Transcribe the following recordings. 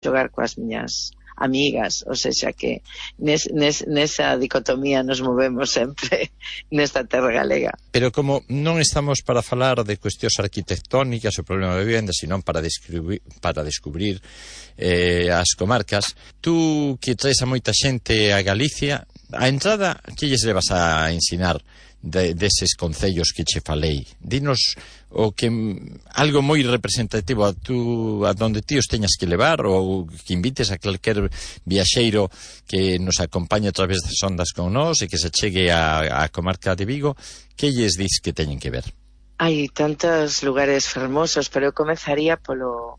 xogar coas miñas amigas, ou seja que nesa dicotomía nos movemos sempre nesta terra galega. Pero como non estamos para falar de cuestións arquitectónicas, o problema de vivenda, sino para descubrir as comarcas, tú que traes a moita xente a Galicia, a entrada, que lles levas a ensinar deses concellos que che falei? Dinos o que algo moi representativo a donde ti os teñas que levar, ou que invites a calquer viaxeiro que nos acompañe a través das ondas con nós e que se chegue a comarca de Vigo. Que lles dis que teñen que ver? Hai tantos lugares fermosos, pero eu comezaría polo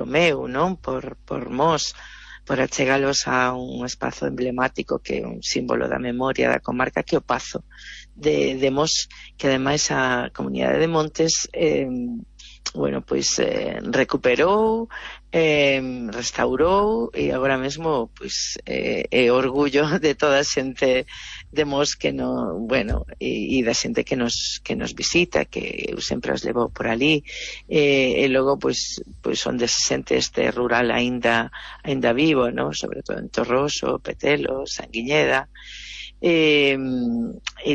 meu, non? Por Mos, por achegalos a un espazo emblemático que é un símbolo da memoria da comarca, que é o Pazo de Mos, que ademais a comunidade de Montes recuperou, restaurou, e agora mesmo é orgullo de toda a xente de Mos que e da xente que nos visita, que eu sempre os levo por ali, e logo onde se sente este rural aínda vivo, no? Sobre todo en Torroso, Petelo, Sanguiñeda. E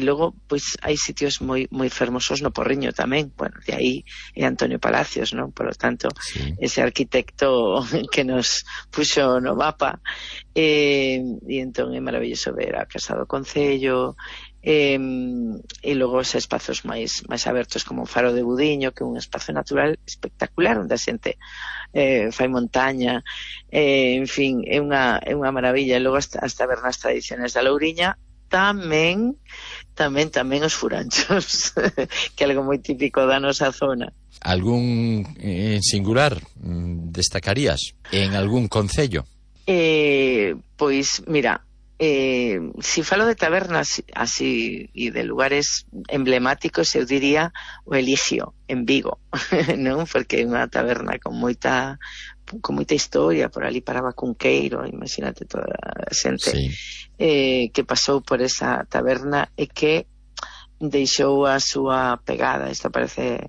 logo hai sitios moi fermosos no Porriño tamén. De aí é Antonio Palacios, non? Por lo tanto, sí, ese arquitecto que nos puxo no mapa, e entón é maravilloso ver a Casa do Concello, e logo os espazos máis abertos como o Faro de Budiño, que é un espazo natural espectacular onde a xente fai montaña, en fin, é unha maravilla. E logo as tabernas tradicionais da Louriña, tamén os furanchos, que é algo moi típico da nosa zona. Algún singular destacarías en algún concello? Pois, mira, si falo de tabernas así e de lugares emblemáticos, eu diría o Eligio, en Vigo, non? Porque é unha taberna con moita historia. Por ali paraba Cunqueiro, imagínate toda a xente, sí, que pasou por esa taberna e que deixou a súa pegada. Isto aparece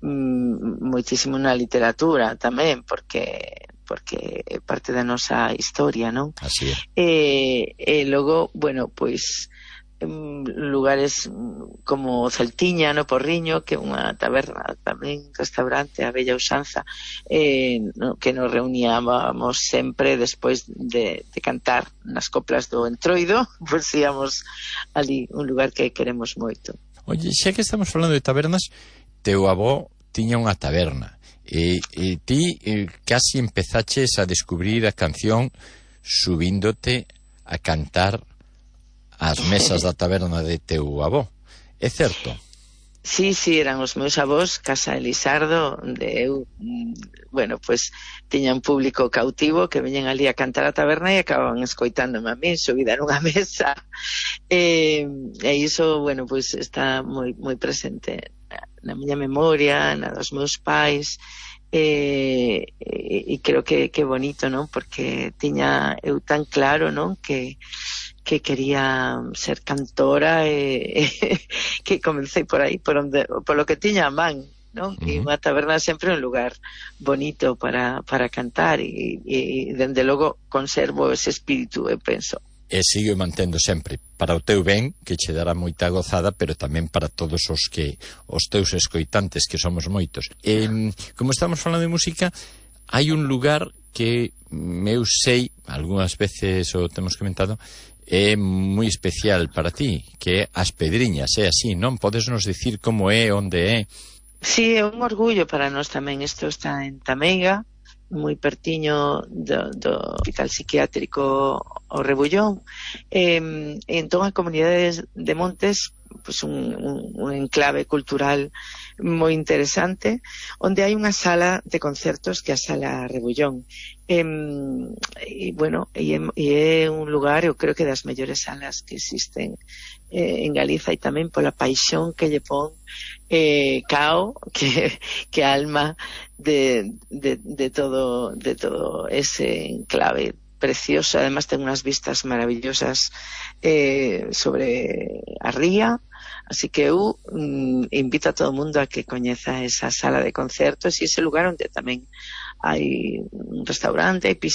moitísimo na literatura tamén, porque é parte da nosa historia, non? Así é. E logo, lugares como Celtiña, no Porriño, que é unha taberna tamén, restaurante, a bella usanza, que nos reuníamos sempre despois de cantar nas coplas do Entroido, pois íamos ali, un lugar que queremos moito. Oye, xa que estamos falando de tabernas, teu avó tiña unha taberna, e ti casi empezaches a descubrir a canción subíndote a cantar as mesas da taberna de teu avó. É certo? Sí, eran os meus avós, Casa Elisardo, onde eu, tiña un público cautivo que veñen ali a cantar a taberna e acababan escoitándome a mí, subida nunha mesa. E iso, está moi presente na miña memoria, na dos meus pais, e creo que é bonito, non? Porque tiña eu tan claro, non? Que quería ser cantora, e que comecei por aí, por lo que tiña a man, non? E unha taberna sempre un lugar bonito para cantar, e dende logo conservo ese espírito, eu penso. E sigue mantendo sempre, para o teu ben, que che dará moita gozada, pero tamén para todos os teus escoitantes, que somos moitos. Como estamos falando de música, hai un lugar que eu sei, algunhas veces o temos comentado, é moi especial para ti, que é As Pedriñas, é así, non? Podes nos dicir como é, onde é? Sí, é un orgullo para nós tamén. Isto está en Tameiga, moi pertiño do hospital psiquiátrico o Rebullón, e entón a comunidade de Montes, un enclave cultural moi interesante, onde hai unha sala de concertos que é a Sala Rebullón, e é un lugar, eu creo que das mellores salas que existen en Galiza, e tamén pola paixón que lle pon Cao, que alma de todo ese enclave precioso. Además ten unhas vistas maravillosas sobre a ría, así que eu invito a todo o mundo a que coñeza esa sala de concertos e ese lugar onde tamén hai un restaurante, hai piscina,